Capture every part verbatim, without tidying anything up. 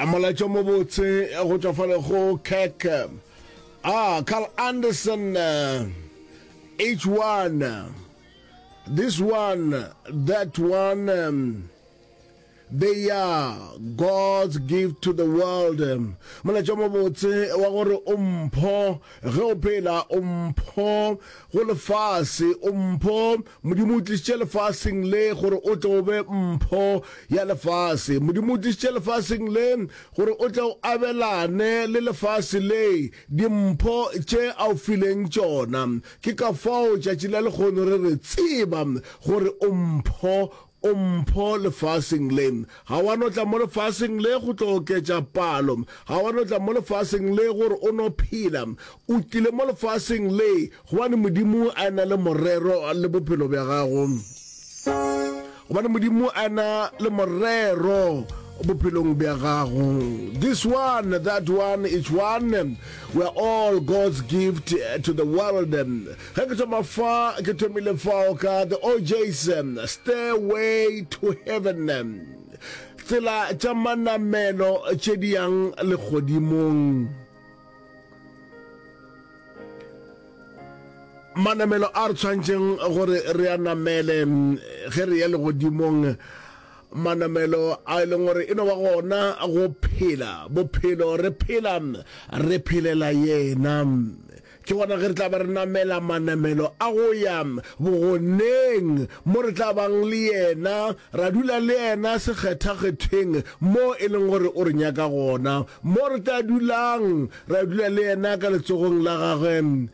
Molaetša mobotse go tšwa fale go Kirk. Ah, Carl Anderson, uh, H one, this one, that one, um, they are God's gift to the world. Molaetša mobotse wa gore o mpho ge o phela, o mpho go lefase, o mpho. Modimo o tlišitše lefaseng le gore o tle o be mpho ya lefase. Modimo o tlišitše lefaseng le gore o tle o abelane le lefase le dimpho tše a o fileng tšona. Ke ka fao tšatši la lehono re re tseba gore o mpho, o mpho lefaseng le. Ga wa no tla mo lefaseng le go tlo oketša palo. Ga wa no tla mo lefaseng le gore o no phela. O tlile mo lefaseng le gobane Modimo a na le morero le bophelo bja gago. Gobane Modimo a na le morero bophelong bja gago. This one, that one, each one, we are all God's gift to the world. Ge ke thoma fa, ke thomile fao ka the O J's, Stairway to Heaven. Tsela tša manamelo tše di yang legodimong. Manamelo a re tshwanetšeng gore re a namele ge re ya legodimong, manamelo a e leng gore e no ba gona go phela bophelo, re phela re phelela yena, ke gona ge re tla ba re namela manamelo a go ya bogoneng mo re tla bang le yena, ra dula le yena sekgethakgethweng mo e leng gore o re nyaka gona, mo re tla dulang ra dula le yena ka letsogong la gagwe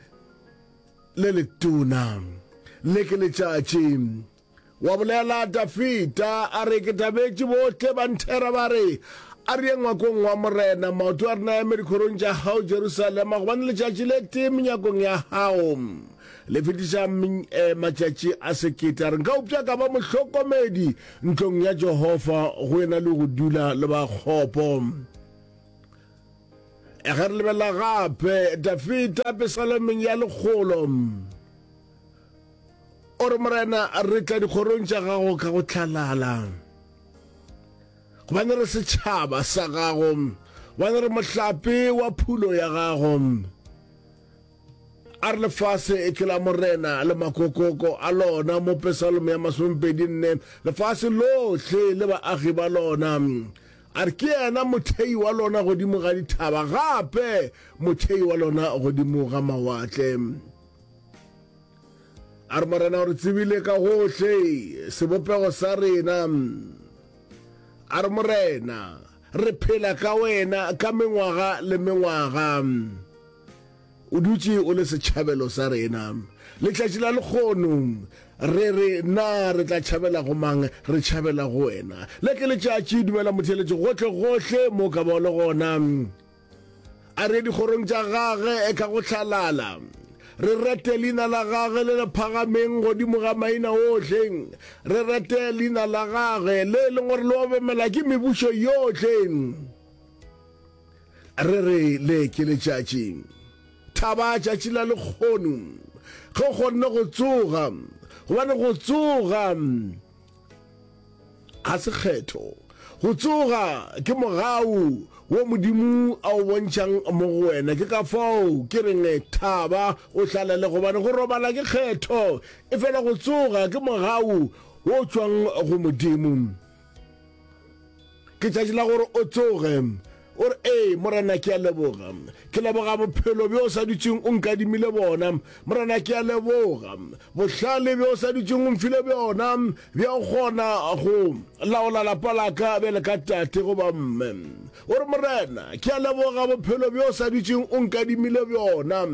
le letona. Le ke letšatši. Wa bolela Dafida a re, Ke thabetše bohle ba nthera ba re, A re ye ngwakong wa Morena, maoto a rena a eme dikgorong tša gago, Jerusalema, gobane letšatši le tee menyakong ya gago le fetiša matšatši a sekete. A re, Nka upša ka ba mohlokomedi ntlong ya Jehofa go e na le go dula le ba kgopo. Ge re lebelela gape Dafida Pesalomeng ya lekgolo, o re, Morena, re tla dikgorong tša gago ka go hlalala, gobane re setšhaba sa gago, gobane re mohlape wa phulo ya gago. A re lefase ke la Morena le makokoko a lona, mo Pesalome ya masomepedi nne, lefase lohle le baagi ba lona. A re ke yena mothei wa lona godimo ga dithaba, gape mothei wa lona godimo ga mawatle. A re Morena o re tsebile ka gohle sebopego sa rena. A re Morena, re phela ka wena ka mengwaga le mengwaga. O dutše o le setšhabelo sa rena. Letšatši la lekgono re re, na re tla tšhabela go mang? Re tšhabela go wena. Le ke letšatši, dumela motheeletši gohle gohle mo ka ba o le gona. A re ye dikgorong tša gage ka go hlalala, re rete leina la gage le le phagameng godimo ga maina ohle, re rete leina la gage le e leng gore le obamela ke mebušo yohle. Re re le ke letšatši, thaba tšatši la lekgono, ge o kgonne go tsoga, gobane go tsoga ga se kgetho. Go tsoga ke mogau wo Modimo a o bontšhang mo go wena. Ke ka fao ke reng thaba o hlalale, gobane go robala ke kgetho, efela go tsoga ke mogau wo tšwang go Modimo. Ke tšatši la gore o tsoge, o re, Ee, Morena, ke a leboga. Ke leboga bophelo bjo o sa dutšeng o nkadimile bona. Morena, ke a leboga bohlale bjo o sa dutšeng o mfile bjona, bja go kgona go laola lapa la ka bjale ka tate goba mme. O re, Morena, ke a leboga bophelo bjo o sa dutšeng o nkadimile bjona.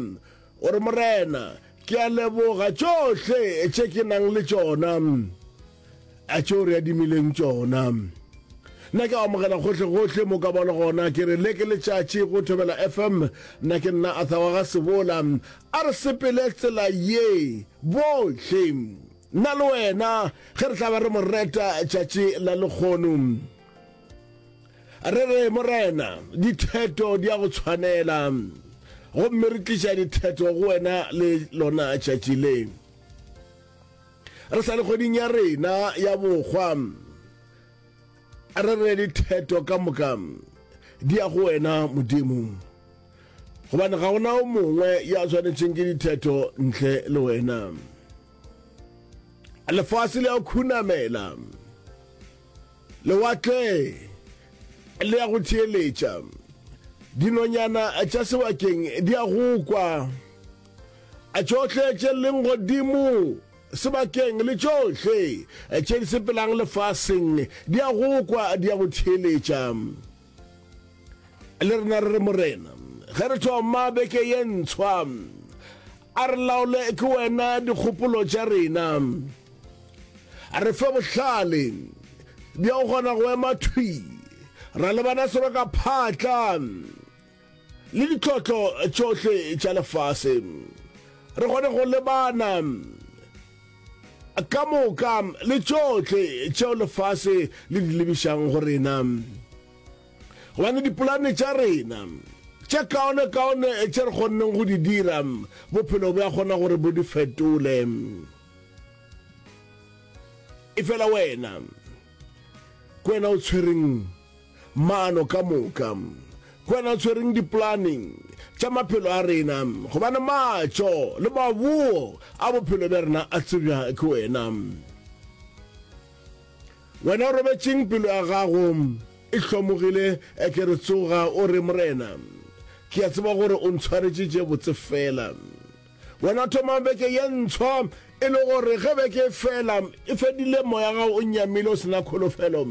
O re, Morena, ke a leboga tšohle tše ke nang le tšona. A tšeo re adimileng tšona. Nna ke amogela gohle-gohle mo ka ba le gona. Ke re le ke letšatši go Thobela F M. Nna ke nna Arthur wa ga Sebola. A re sepele tsela ye bohle, nna le wena, ge re tla ba re mo reta tšatši la lekgono. Re re, Morena, ditheto di a go tshwanela, gomme re tliša ditheto go wena le lona tšatši le. Re sa le kgweding ya rena ya bokgwa, re re ditheto ka moka di ya go wena Modimo, gobane ga gona o mongwe ya swanetšeng ke dithetho ntle le wena. Lefase le ya khunamela, lewatle le ya go theeletša, dinonyana tša sebakeng di ya go kwa, tšohle tše leng godimo sebakeng le tšohle tše di sepelang lefaseng di ya go kwa, di ya go theeletša. Le rena re re, Morena, ge re thoma beke ye ntshwa, a re laole ke wena dikgopolo tša rena. A re fe bohlale bja go kgona go ema thwi ra lebana seroka phatla le ditlhotlo tšohle tša lefase, re kgone go lebana ka moka le tšohle tšeo lefase le di lebišang go rena. Gobane dipolane tša rena tše kaonekaone tše re kgonneng go di dira, bophelo bja kgona gore bo di fetole. Efela wena, ke wena o tshwereng maano ka moka, ke wena o tshwereng dipolane tša maphelo a rena, gobane matšo le maboo a bophelo bja rena a tsebja ke wena. Wena o robetšeng pelo ya gago e hlomogile, ke re tsoga o re, Morena, ke a tseba gore o ntshwaretše tše botse fela. Wena thoma beke ye ntshwa, e le gore ge beke e fela, e fedile, moya gago o nyamile o se na kholofelo.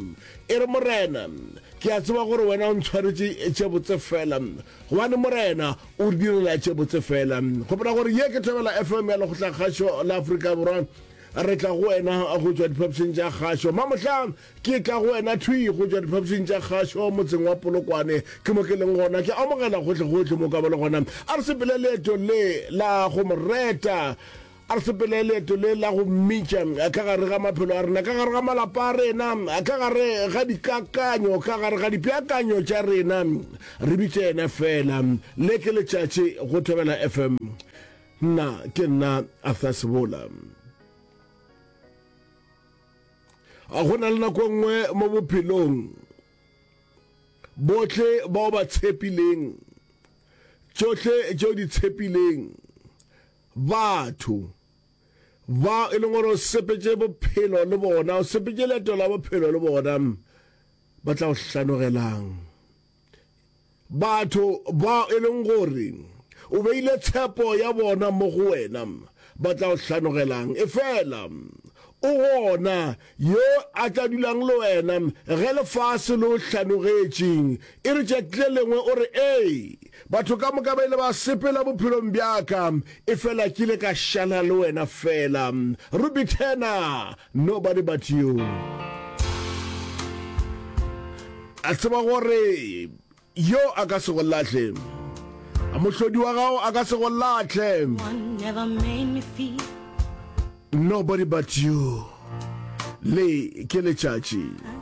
E re, Morena, ke a tseba gore wena o ntshwaretše tše botse fela, gobane Morena o re direla tše botse fela. Gopola gore ye ke Thobela F M ya Lekgotlakgašo la Afrika Borwa. Re tla go wena go tšwa diphapošing tša kgašo. Mamohla ke tla go wena thwi go tšwa diphapošing tša kgašo motseng wa Polokwane. Ke mo ke leng gona. Ke amogela gohle-gohle mo ka ba le gona. A re sepele leeto le la go mo reta. A re sepele leeto le la go mmitša ka gare ga maphelo a rena, ka gare ga malapa a rena, ka gare ga dikakanyo, ka gare ga dipeakanyo tša rena. Re bitše yena feela. Le ke letšatši go Thobela F M. Nna ke nna Arthur Sebola. Go na le nako e nngwe mo bophelong bohle bao ba tshepileng tšohle tšeo di tshepileng batho ba e leng gore o sepetše bophelo le bona, o sepetše leeto la bophelo le bona, ba tla go hlanogelang. Batho bao e leng gore o beile tshepo ya bona mo go wena ba tla go hlanogelang. Efela o gona yo a tla dulang le wena ge lefase le o hlanogetše. E re tšatši le lengwe o re, Ee, batho ka moka ba ile ba sepela bophelong bja ka, efela ke ile ka šala le wena feela. Ruby Turner, Nobody But You. A tseba gore yo a ka se go lahle, mohlodi wa gago a ka se go lahle. Nobody But You. Le ke letšatši.